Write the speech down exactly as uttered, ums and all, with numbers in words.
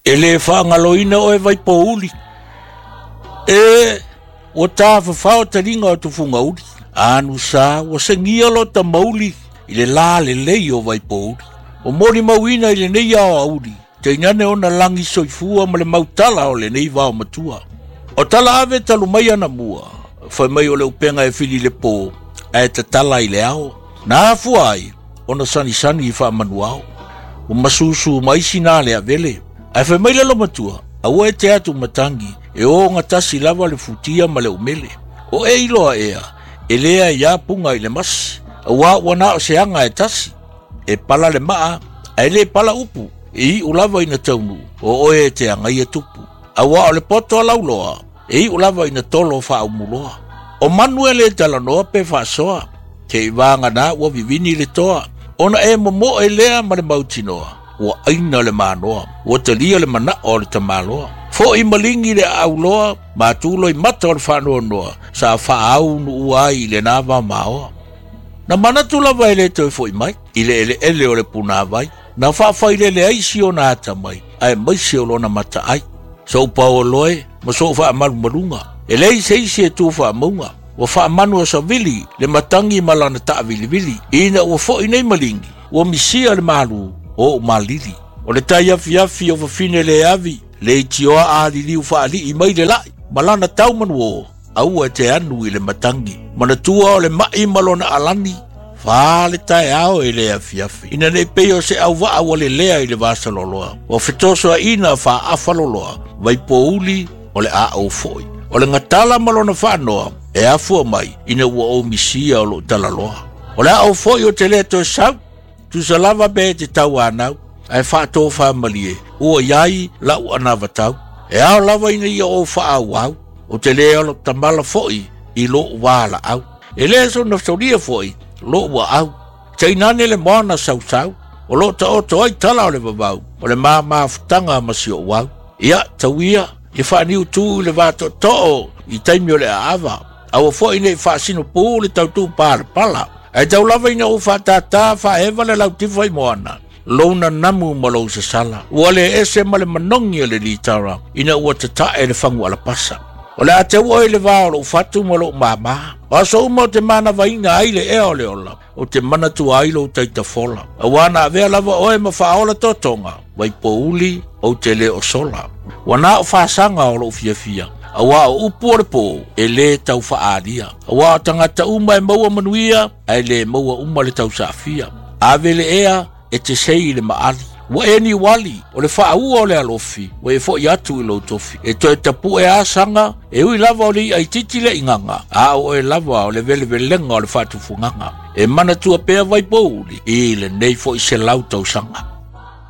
E le faagaloina oe Vaipouli. E ua tafafao taliga o tufugauli. Anusa ua segia lota mauli i le lā lelei o Vaipouli. O molimauina i lenei aoauli, tainane ona lagi soifua ma le mautala o lenei vaomatua. O tala ave talu mai anamua, fai mai o le upega e fili le pō, ae tatala i le ao. Na afua ai, ona sanisani i faamanuao. Ua masusu mai sina le avele. Ae fai mai le lomatua, aua e te atu matagi, e ogatasi lava le futia ma le umele. O e iloa ea, e lea ia punga i le masi, auā ua na o se aga e tasi. E pala le maa, ae le pala upu, e iu lava ina taunuu, o oe e te agaia tupu. Auā o le poto a lauloa, e iu lava ina tolo faaumuloa. O manu e le talanoa pe faasoa, te i vagana ua vivini le toa, ona e momoe lea ma le mautinoa, ua aina le manoa, ua talia le manao o le tamaloa. Fo'i maligi le aauloa, matulo i mata o le faanoanoa, sa faaaunuu ai i lena vamaoa. Na manatu lava e le toe fo'i mai, i le eleele o le punāvai, na faafailele ai si ona atamai, aemaise o lona mataai. Sou paoloe ma sou faamalumaluga, e leai se isi e tu faamauga, ua faamanu a savili le matagi ma lana taavilivili, ina ua fo'i nei maligi, ua misia le malu o ou malili. O le tai afiafi o fafine le avi, le itioa aliliu faalii mai le lai, ma lana taumanuō, aua e te anu i le matagi. Manatua o le mai ma lona alani, fa le taeao e le afiafi. Ina nei pei o se auvaa ua lelea i le vasaloloa, ua fetosoaina faaafaloloa, Vaipouli o le aou foi. O le gatala ma lona faanoa, e afua mai ina ua ou misia o lou talaloa. O le aou foi o te le toe sau, tusa lava pe te tauanau, ae faatofamalie, ua iai lau anavatau. E ao lava ina ia ou faaauau, o te le olo tamala foi i lou valaau. E le sona solia foi lou aau. Tainane le moana sausau, o loo taoto ai tala o le vavau, o le mamafutaga ma si ou au. Ia, tauia, ia faaniutū i le vatootoo i taimi o le aava, aua foi nei faasinopū le tautū palapala. Ae tau lava ina ou faatātā faaeva le lautifa i moana, lou nanamu ma lou sasala. Ua le ese ma le manogi o le litara, ina ua tatae le fagu alapasa. O le a teu oe le vā o lou fatu ma lou māmā. O aso uma o te manavaina ai le ea o le ola, o te manatua ai lou taitafola. Auā na avea lava oe ma faaola totoga, Vaipouli ou te le o sola. Ua na o faasaga o lou fiafia, auā o upu o le pō, e lē tau faaalia. Auā o tagata uma e maua manuia, ae lē maua uma le tausaafia. Ave le ea e te sei i le maali. Ua e niuali, o le faaua o le alofi, ua e fo'i atu i lou tofi. E toe tapu'e asaga, e ui lava o le iaititi le igaga, a o oe lava o le velevelega o le faatufugaga. E manatua pea Vaipouli i lenei fo'i selau tausaga.